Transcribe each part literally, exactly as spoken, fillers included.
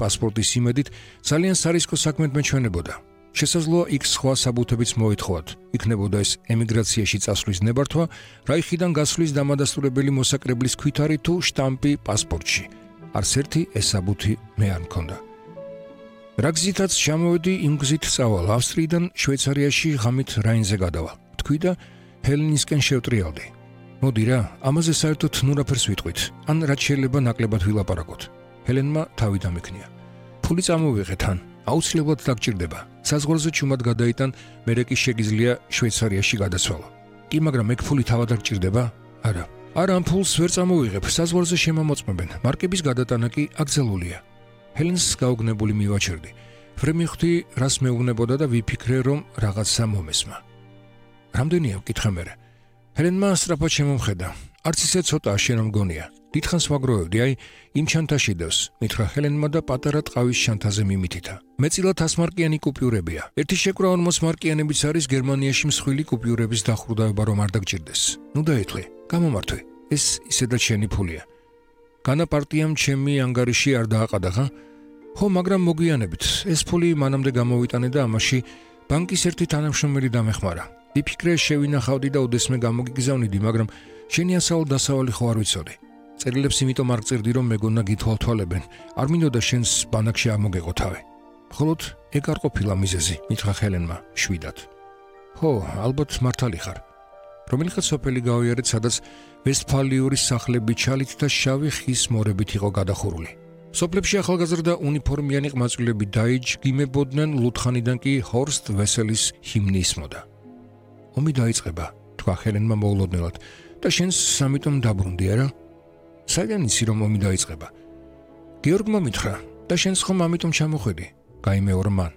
პასპორტის იმედით ძალიან სარისკო საქმედ მეჩვენებოდა. შესაძლოა იქ სხვა საბუთებიც მოითხოვათ. იქნებოდა ეს ემიგრაციაში წასვლის ნებართვა, რაიხიდან გასვლის დამადასტურებელი მოსაკრებლის ქვითარი თუ შტამპი პასპორტში. არც ერთი ეს საბუთი მე არ მქონდა. რა გზითაც ჩამოვედი, იმ გზით წავალ ავსტრიიდან შვეიცარიაში ღამით რაინზე გადავალ. თქვი და ჰელენისკენ შევტრიალდი. მოდი რა, ამაზე საერთოდ ნურაფერს ვიტყვით, ან რაც შეიძლება ნაკლებად ვილაპარაკოთ. ჰელენმა თავი დამექნია. ფული წამოვიღე თან, აუცილებლად დაგჭირდება. საზღვარზე ჩუმად გადაიტან, მერე კი შეგიძლია შვეიცარიაში გადაცვალო. კი, მაგრამ ეგ ფული თავად არ გჭირდება? არა. არა, ამ ფულს ვერ წამოვიღებ, საზღვარზე შემამოწმებენ. მარკების გადატანა კი აკრძალულია. ჰელენს გაუგნებული მივაჩერდი. ვერ მივხვდი, რას მეუბნებოდა და ვიფიქრე, რომ რაღაცა მომესმა. რამდენია ვკითხე მერე. ჰელენმა სწრაფად შემომხედა. არც ისე ცოტა შენ რომ გონია. დიდხანს ვაგროვებდი, აი, იმ ჩანთაში დევს, მითხრა ჰელენმა და პატარა ტყავის ჩანთაზე მიმითითა. მეწილად ასმარკიანი კუპიურებია. ერთი შეკვრა ორმოც მარკიანებიც არის გერმანიაში მსხვილი კუპიურების დახურდაება რომ არ დაგჭირდეს. ნუ დაეთლე, გამომართვე. ეს ისედაც შენი ფულია. განა პარტიამ ჩემი ანგარიში არ დააყადა, ხა? ხო, მაგრამ მოგვიანებით. ეს ფული მანამდე გამოვიტანე და ამაში ბანკის ერთი თანამშრომელი დამეხმარა. ვიფიქრე შევინახავდი და ოდესმე გამოგიგზავნიდი, მაგრამ შენი ასავალ-დასავალი ხო არ ვიცოდი. წერილებს იმიტომ არ გწერდი, რომ მეგონა გითვალთვალებენ. არ მინდოდა შენს ბანაკში ამოგეყო თავი. მხოლოდ ეგ არ ყოფილა მიზეზი, მითხრა ჰელენმა შვიდად. ხო, ალბათ მართალი ხარ. რომელიღაც სოფელი გავიარეთ, სადაც ვესტფალიური სახლები ჩალით და შავი ხის მორებით იყო გადახურული. სოფლებში ახალგაზრდა უნიფორმიანი ყმაწვილები დაიჯგიმებოდნენ, ლუთხანიდან კი ჰორსტ ვესელის ჰიმნი ისმოდა. ომი დაიწყება, თქვა ჰელენმა მოულოდნელად, და შენს ამიტომ დაბრუნდი, არა? საიდან იცი რომ ომი დაიწყება? გეორგმა მითხრა, და შენს ხომ ამიტომ ჩამოხვედი? გაიმეორა მან.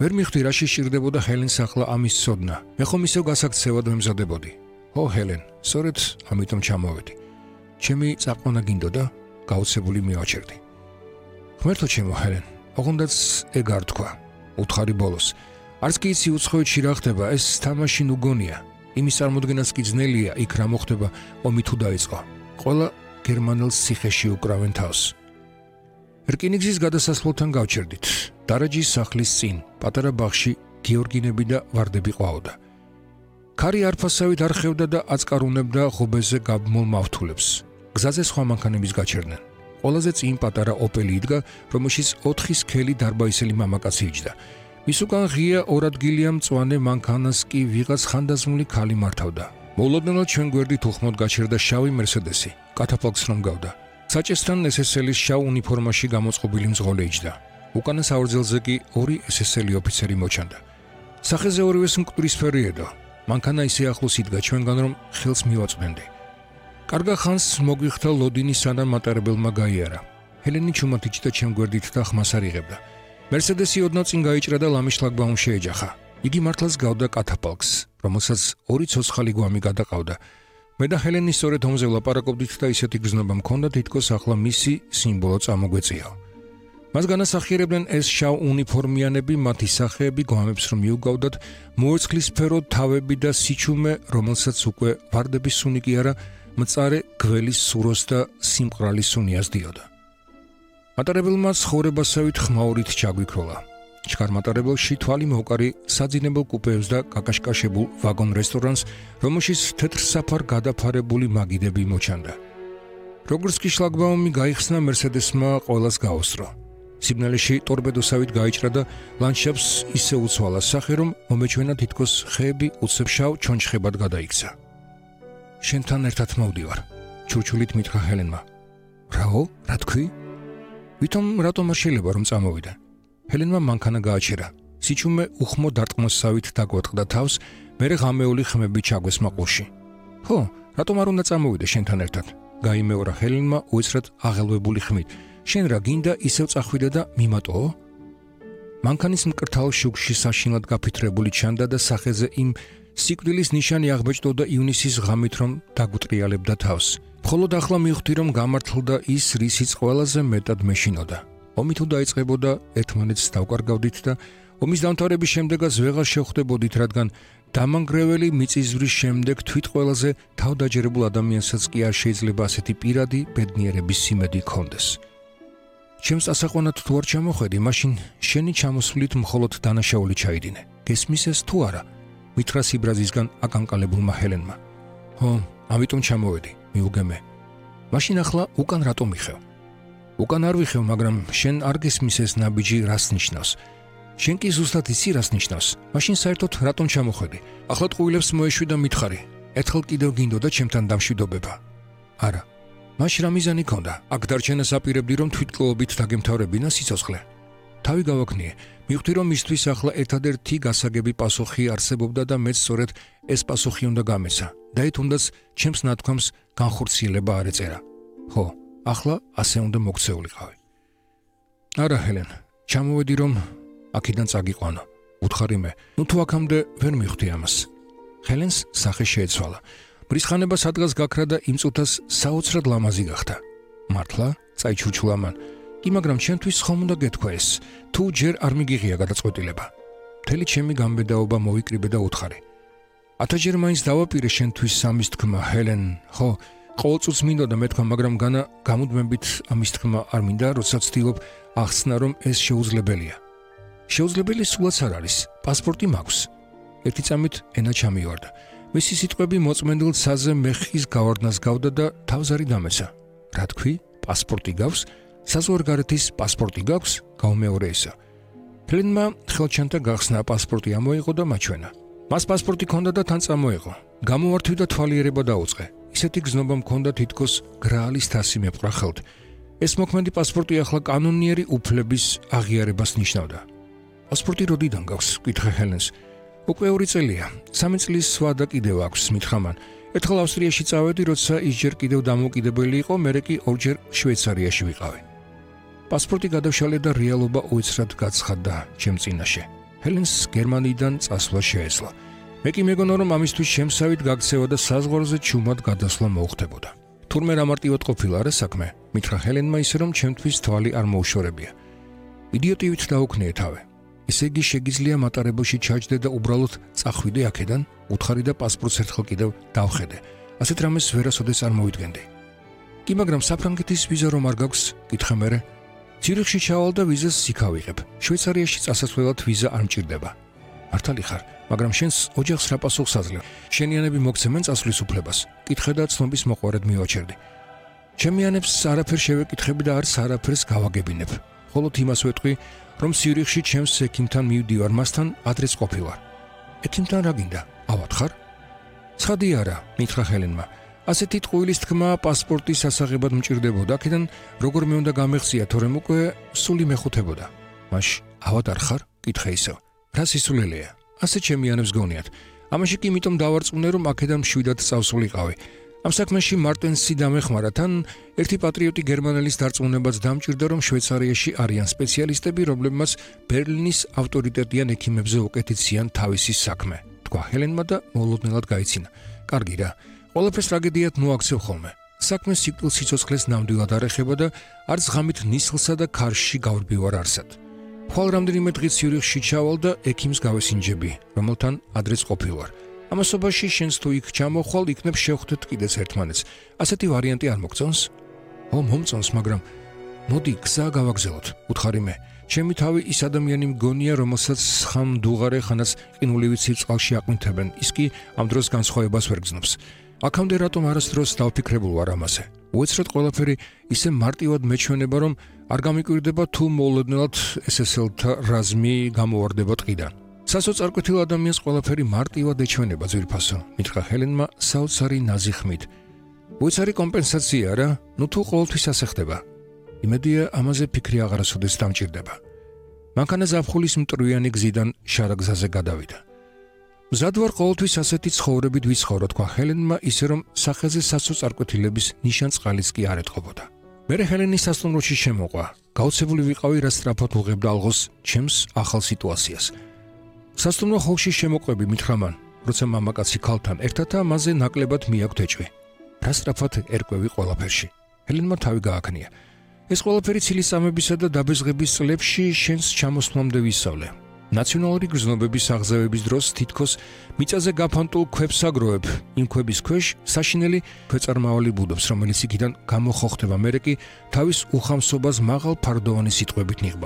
ვერ მიხვდი რა შეჭირდებოდა ჰელენს ახლა ამის ცოდნა. მე ხომ ისევ გასაქცევად მემზადებოდი. ო ჰელენ, სწორედ ამიტომ ჩამოვედი. ჩემი წაყვანა გინდოდა? გაუცებული მივაჩერდი. ღმერთო ჩემო ჰელენ, ოღონდაც ეგ არ თქვა. უთხარი ბოლოს. არც კი იცი უცხოეთში რა ხდება, ეს თამაში ნუ გონია. იმის წარმოდგენაც კი ძნელია, იქ რა მოხდება, ომი თუ დაიწყო. ყველა გერმანელს ციხეში უკრავენ თავს. რკინიგზის გადასასვლელთან გავჩერდით. დარაჯის სახლის წინ, პატარა ბაღში გეორგინები და ვარდები ყვაოდა. ქარი არფასავით არხევდა და აწკარუნებდა ღობეზე გაბმულ მავთულებს. გზაზე სხვა მანქანების გაჩერდნენ. ყველაზე წინ პატარა ოპელი იდგა, რომელშიც ოთხი სქელი დარბაისელი მამაკაცი იჯდა. მის უკან ღია ორადგილია მწვანე მანქანას კი ვიღაც ხანდაზმული ქალი მართავდა. მოულოდნელად ჩვენ გვერდით უხმოდ გაჩერდა შავი მერსედესი, კათაფალკს რომ გავდა. საჭესთან ესესელის შავ უნიფორმაში გამოწყობილი მძღოლი იჯდა. უკანა საორძელზე კი ორი ესესელი ოფიცერი მოჩანდა. სახეზე ორივეს მკვდრისფერი ედო. მანქანა ისე ახლოს იდგა ჩვენგან, რომ ხელს მივაწვდენდი. კარგა ხანს მოგვიხდა ლოდინი, სანამ მატარებელმა გაიარა. ჰელენი ჩუმად იჯდა ჩემ გვერდით და ხმას არ იღებდა. მერსედესი ოდნავ წინ გაიჭრა და ლამის შლაგბაუმში ეჯახა. იგი მართლაც გავდა კათაფალკს, რომელსაც ორი ცოცხალი გვამი გადაყავდა. მე და ჰელენი სწორედ ომზე ვლაპარაკობდით და ისეთი გრძნობა მქონდა, თითქოს ახლა მისი სიმბოლო წამოგვეწიაო. მას განასახიერებდნენ ეს შავ უნიფორმიანები, მათი სახეები, გვამებს რომ მიუგავდათ, მოერცხლისფერო თავები და სიჩუმე, რომელსაც უკვე ვარდების სუნი კი არა, მწარე გველის სუროს და სიმყრალის სუნი ასდიოდა. მატარებელმა ცხოვრებასავით ხმაურით ჩაგვიქროლა. ჩქარ მატარებელში თვალი მოვკარი საძინებელ კუპეებს და კაკაშკაშებულ ვაგონ რესტორანს, რომელშიც თეთრსაფარ გადაფარებული მაგიდები მოჩანდა. როგორც კი შლაგბაუმი გაიხსნა, მერსედესმა ყველას გაუსწრო. სიგნალში ტორპედოსავით გაიჭრა და ლანდშაფტს ისე უცვალა სახე, რომ მომეჩვენა თითქოს ხეები უცებშავ ჩონჩხებად გადაიქცა. შენთან ერთად მოვდივარ, ჩურჩულით მითხრა ჰელენმა. რაო, რა თქვი? ვითომ რატომ არ შეიძლება რომ წამოვიდა? ჰელენმა მანქანა გააჩერა. სიჩუმე უხმო დარტყმოსავით დაგვატყდა თავს, მერე ღამეული ხმები ჩაგვეს მაყურში. ხო, რატომ არ უნდა წამოვიდე შენთან ერთად? გაიმეორა ჰელენმა უეცრად აღელვებული ხმით. შენ რა გინდა ისევ წახვიდე და მიმატოო? მანქანის მკრთალ შუქში საშინლად გაფითრებული ჩანდა და სახეზე იმ სიკვდილის ნიშანი აღბეჭდოდა ივნისის ღამით, რომ დაგვტრიალებდა თავს. მხოლოდ ახლა მივხვდი, რომ გამართლდა ის, რისიც ყველაზე მეტად მეშინოდა. ომი თუ დაიწყებოდა, ერთმანეთს დავკარგავდით და ომის დამთავრების შემდეგაც ვეღარ შევხვდებოდით, რადგან დამანგრეველი მიწისძვრის შემდეგ თვით ყველაზე თავდაჯერებულ ადამიანსაც კი არ შეიძლება ასეთი პირადი ბედნიერების სიმედი ჰქონდეს. ჩემს ასაყვანად თუ არ ჩამოხედი, მაშინ შენი ჩამოსვლით მხოლოდ დანაშაული ჩაიდინე. გესმის ეს თუ არა? მითხრა სიბრაზისგან აკანკალებულმა ჰელენმა. ხო, ამიტომ ჩამოვედი, მიუგემე. მაშინ ახლა უკან რატომ მიხევ? უკან არ ვიხევ, მაგრამ შენ არ გესმის ეს ნაბიჯი რას ნიშნავს? შენ კი ზუსტად იცი რას ნიშნავს? მაშინ საერთოდ რატომ ჩამოხედი? ახლა ტყუილებს მოეშვი და მითხარი. ერთხელ კიდევ გინდოდა ჩემთან დამშვიდობება. არა. მაშ რა მიზანი ქონდა? აქ დარჩენას აპირებდი, რომ თვითკლაობით დაგემთავრებინა სიცოცხლე. თავი გავაკნიე, მივხვდი, რომ მისთვის ახლა ერთადერთი გასაგები პასუხი არსებობდა და მეც სწორედ ეს პასუხი უნდა გამეცა. და თუნდაც ჩემს ნათქვამს განხორციელება არ ეწერა. ხო, ახლა ასე უნდა მოქცეულიყავი. არა, ჰელენ, ჩამოვედი, რომ აქედან წაგიყვანო. უთხარი მე, ნუ თუ აქამდე ვერ მივხვდი ამას. ჰელენს სახე შეეცვალა. ბრისხანება სადღაც გაქრა და იმ წუთას საოცრად ლამაზი გახდა. მართლა? წაიჩურჩულა მან. კი, მაგრამ ჩემთვის ხომ უნდა გეთქვა ეს, თუ ჯერ არ მიგიღია გადაწყვეტილება. მთელი ჩემი გამბედაობა მოვიკრიბე და უთხარი. ათჯერ მაინც დავაპირე შენთვის სამის თქმა, ჰელენ, ხო, ყოველწუთს მინდოდა მეთქვა, მაგრამ განა გამუდმებით ამის თქმა არ მინდა, როდესაც ვცდილობ ახსნა, რომ ეს შეუძლებელია. შეუძლებელი სულაც არ არის, პასპორტი მაქვს. ერთი წამით ენა ჩამივარდა. მისი სიტყვები მოწმენდილ ცაზე მეხის გავარდნას გავდა და თავზარი დამეცა. რა თქვი? პასპორტი გაქვს? საზღვარგარეთის პასპორტი გაქვს? გაუმეორე ისა. ჰელენმა ხელჩანთა გახსნა პასპორტი ამოიღო და მაჩვენა. მას პასპორტი ჰქონდა და თან წამოიღო. გამოვართვი და თვალიერება დაუწყე. ისეთი გზნობა მქონდა თითქოს გრაალის თასი მეპყრა ხელთ. ეს მოქმედი პასპორტი ახლა კანონიერი უფლების აღიარებას ნიშნავდა. პასპორტი როდიდან გაქვს? კითხე ჰელენს. უკვე ორი წელია. სამი წლის სვა და კიდევ აქვს, მითხრა მან. ერთხელ ავსტრიაში წავედი, როცა ის ჯერ კიდევ დამოუკიდებელი იყო, მერე კი ორჯერ შვეიცარიაში ვიყავი. პასპორტი გადავშალე და რეალობა უეცრად გაცხადდა ჩემ წინაშე. ჰელენს გერმანიიდან წასვლა შეეძლო. მე კი მეგონა, რომ ამისთვის შემსავით გაქცევა და საზღვარზე ჩუმად გადასვლა მოუხდებოდა. თურმე რა მარტივად ყოფილა რა საქმე? მითხრა ჰელენმა ისე, რომ ჩემთვის თვალი არ მოუშორებია. იდიოტივით დაუქნიე თავი. ესე იგი შეგიძლია მატარებელში ჩაჯდე და უბრალოდ წახვიდე აქედან, უთხარი და პასპორტს ერთხელ კიდევ დავხედე. ასეთ რამეს ვერასოდეს არ მოვიდგენდი. კი, მაგრამ საფრანგეთის ვიზა რომ არ გაქვს, კითხე მერე. ცირიხში ჩავალ და ვიზას იქ ავიღებ. შვეიცარიაში წასასვლელად ვიზა არ მჭირდება. მართალი ხარ, მაგრამ შენს ოჯახს რა პასუხს აძლევ? შენიანები მოგცემენ წასვლის უფლებას. კითხე და ცნობის მოყვარედ მივაჩერდი. ჩემი ანებს არაფერ შევეკითხები და არც არაფერს გავაგებინებ. მხოლოდ იმას ვეტყვი, რომ ცირიხში ჩემს ექიმთან მივდივარ, მასთან ადრეც ყოფილვარ. ექიმთან რა გინდა? ავათხარ? ცხადი არა, მითხრა ჰელენმა. ასეთი ტყუილის თქმა პასპორტის სასაღებად მჭირდებოდა, აქედან როგორ მე უნდა გამეხსია, თორემ უკვე სული მეხუთებოდა. მაშ ავად არ ხარ? კითხე ისევ. რა სისულელეა? ასე ჩემი ანებს გონიათ. ამაში კი იმიტომ დავარწმუნე, რომ აქედან მშვიდად წავსულიყავი. ამ საქმეში მარტენსი დამეხმარა, თან ერთი პატრიოტი გერმანელის დარწმუნებაც დამჭირდა, რომ შვეიცარიაში არიან სპეციალისტები, რომლებმაც ბერლინის ავტორიტეტიან ექიმებზე უკეთიციან თავისი საქმე. თქვა ჰელენმა და მოულოდნელად გაიცინა. კარგი რა. ყველაფერს ტრაგედიად მოაქცევ ხოლმე. საქმე სიკვდილ სიცოცხლეს ნამდვილად არ ეხება და არც ღამით ნისლსა და ქარში გავრბივარ არსად. ხვალ რამდენიმე დღით ცირიხში ჩავალ და ექიმს გავესინჯები, რომელთან ადრეც ყოფილვარ. ამასობაში შენს თუ იქ ჩამოხვალ, იქნებ შევხვდეთ კიდეც ერთმანეთს. ასეთი ვარიანტი არ მოგწონს? ო, მომწონს, მაგრამ მოდი გზა გავაგზავნოთ, უთხარი მე. ჩემი თავი ის ადამიანი მგონია, რომელსაც ხამ დუღარე ხანაც ყინულივით სიწყალში აყვნთებენ. ის კი ამ დროს განსხვავებას ვერ გრძნობს. აქამდე რატომ არასდროს დავფიქრებულ ვარ ამაზე? უეცრად ყველაფერი ისე მარტივად მეჩვენება, რომ არ გამიკვირდება თუ მოულოდნელად ეს ეს ელ-თა რაზმი გამოვარდება ტყიდან. სასოწარკვეთილ ადამიანს ყველაფერი მარტივად ეჩვენება, ძვირფასო, მითხრა ჰელენმა საოცარი ნაზი ხმით. უეცარი კომპენსაცია რა, ნუ თუ ყოველთვის ასე ხდება. იმედია ამაზე ფიქრი აღარასოდეს დამჭირდება. მანქანა ზაფხულის მტრვიანი გზიდან შარაგზაზე გადავიდა. მზად ვარ ყოველთვის ასეთი ცხოვრებით ვიცხოვრო, თქვა ჰელენმა, ისე რომ სახეზე სასოწარკვეთილების ნიშანწყალიც კი არ ეტყობოდა. მერე ჰელენის სასტუმროში შემოყვა. გაოცებული ვიყავი, რა სწრაფად უღებდა ალღოს ჩემს ახალ სიტუაციას. სასტუმრო ხოლში შემოყვები, მითხრა მან, როცა მამაკაცი ქალთან ერთად ამაზე ნაკლებად მიაქვთ ეჭვი. რა სწრაფად ერკვევი ყველაფერში. ჰელენმა თავი გააკნია. ეს ყველაფერი ცილისწამებისა და დაბეზღების წლებში შენს ჩამოსვლამდე ვისწავლე. ნაციონალური გრძნობების აღზევების დროს თითქოს მიწაზე გაფანტულ ქვებს აგროვებ, იმ ქვების ქვეშ საშინელი ქვეწარმავალი ბუდობს, რომელიც იქიდან გამოხოხდება, მერე კი თავის უხამსობას მაღალ ფარდოვანი სიტყვებით ნიღბავს.